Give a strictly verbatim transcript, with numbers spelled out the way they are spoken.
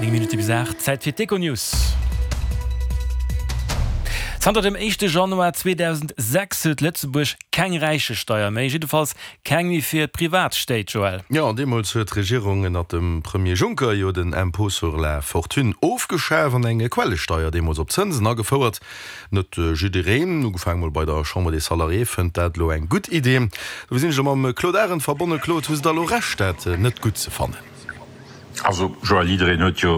Néng Minutte bis aacht, Zäit fir d'Econews. Zanter dem éischte Januar zweedausendsechs huet Lëtzebuerg keng Räichesteier méi, jiddefalls keng méi fir d'Privatstéit, Joël. Jo, deemools huet d'Regierung ënnert dem Premier Juncker jo den Impôt sur la fortune ofgeschaf an eng Quellesteier, deemools op Zënsen, agefouert. Net jiddereen, ugefaange mol bei der Chambre des Salariés, fënnt dat elo eng gutt Idee. Dofir sinn ech elo mam Claude Arend verbonnen. Claude, hu se da elo Recht, dat net gutt ze fannen? Also Joël, jiddereen huet jo